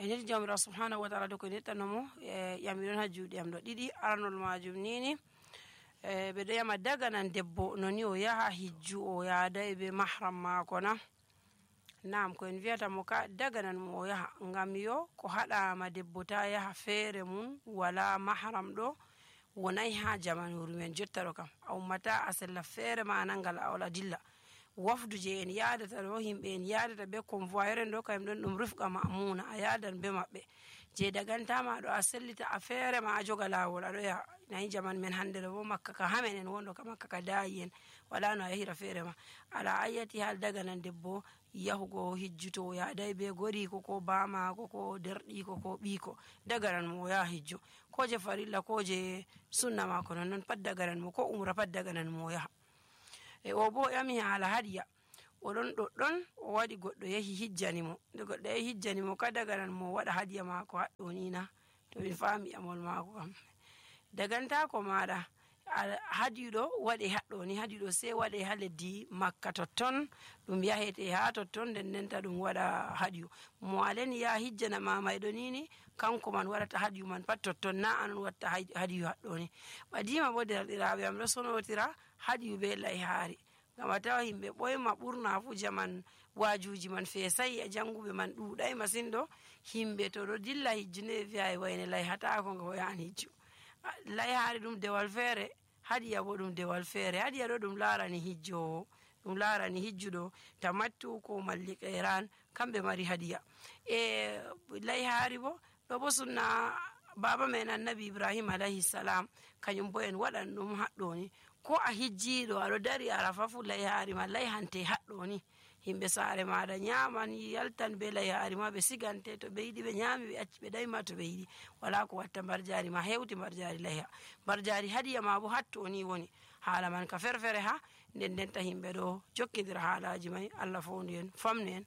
ene jamra subhanahu wa ta'ala do ko nettanomo yamiron ha juuɗe am ɗo ɗiɗi. Arnol majum nini ɓe ɗo yama daga nan debbo noni o yaha hijju o yaadai be mahram mako na. Naam, ko en viyata mo ka daga nan mo o yaha ngam yo ko haɗama debbo ta yaha feere mum wala mahram ɗo wonai ha jamanuru men jotta ɗo kam a ummata a sella feere ma nangal a wala dilla. Wafdu je en yaadata ɗo himɓe en yaadata be convoyeur en ɗo kayum ɗon ɗum rufqa ma'muna a yaadan be maɓɓe je dagantama ɗo a sellita a feere ma a joga lawol aɗo yaha. Nayi jaman men hande ɗo bo makka ka hamen en wonɗo ka makka ka dayi en wala no a yahira feere ma. Ala ayyati hal daga nan debbo yahugo hijjuto o yaadai be goriko ko bamako ko derɗiko ko ɓiko daga nan mo o yaha hijju ko je farilla ko je sunna mako non pat daga nan mo ko umra pat daga nan mo o yaha. O bo yami hala hadiya oɗon ɗoɗɗon o waɗi goɗɗo yahi hijjani mo nde goɗɗo yahi hijjani mo ka daga nan mo waɗa hadiya mako haɗɗo ni na to min fami amol mako kam dagantako maɗa hadiɗo waɗe haɗɗo ni hadiɗo sai waɗe ha leddi makka totton ɗum yahete ha totton nden ndenta ɗum waɗa hadiyu mo aleni ya hijjana mamayɗo nini kanko man waɗata hadiyu man pat totton na anon watta hadiyu haɗɗo ni. Ɓadima bo derɗiraɓe am ɗo sonotira hadiyu be layhaari ngam a tawa himɓe ɓoyma ɓurna fu jaman wajuji man fesai e janguɓe man ɗuɗai masin ɗo himɓe to ɗo dilla hijju ne wi'a wayne layhatako nga o yahan hijju. Layhaari ɗum dewal feere hadiya bo ɗum dewal feere. Hadiya ɗo ɗum larani hijjowo ɗum larani hijjuɗo tamattu ko malli qeran kamɓe mari hadiya layhaari bo ɗo bo sunna baba men annabi Ibrahim alayhi salam kañum bo en waɗan ɗum haɗɗo ni ko a hijjiɗo aɗo dari arafa fu layhaari ma layhante haɗɗo ni himɓe saare maɗa nyaman yaltan be layhaari ma ɓe sigante to ɓe yiɗi ɓe nyami ɓe acci ɓe ɗayma to ɓe yiɗi wala ko watta mbarjari ma hewti mbarjari layha mbarjari hadiya ma bo hatto ni woni haala man ka ferfere ha nden ndenta himɓe ɗo jokkidira haalaji may Allah fondu en famnu en.